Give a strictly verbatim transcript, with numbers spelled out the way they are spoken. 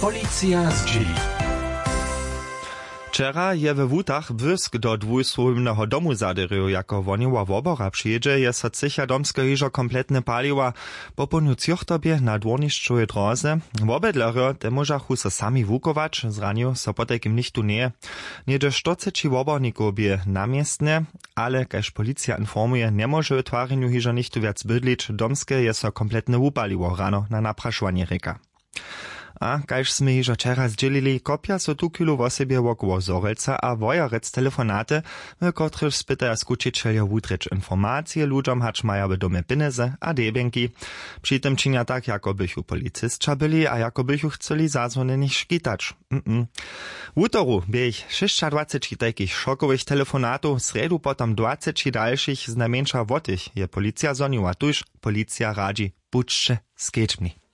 Policija zdźěli. Wčera je we wutach błysk do dwójsłowimneho domu zadyrju jako wohnjowa wobora přijědźe je so cycha domskeho hižo kompletne paliła. Po połdnju třochtobje na dwórnišćowej dróze wobydlerjo te móžachu so sami wukować zranił so potajkim nichtó njeje. Něhdźe štyrceći wobornikow bě na městnje, ale kaž policija informuje njemóže w twarjenju hižo nichtó wjac bydlić domske je so kompletne wupaliło rano na naprašowanje rěka. A kaž smy hižo wčera zdźělili kopja so tuchwilu wosebje wokoło zhorjelca a wojerec telefonaty, w kotrychž spytaja skućićeljo wutrěć informacije ludźom hač maja w domje pěnjezy a debjenki. Při tym činja tak jako bychu policisća byli a jako bychu chcyli zazwonjenych škitać. Mm. Wutoru bě jich šěsćadwaceći tajkich šokowych telefonatow srjedu potom dwaceći dalšich znajmjeńša wotich je policija zhoniła tuž. Policija radźi, budźće skedźbni.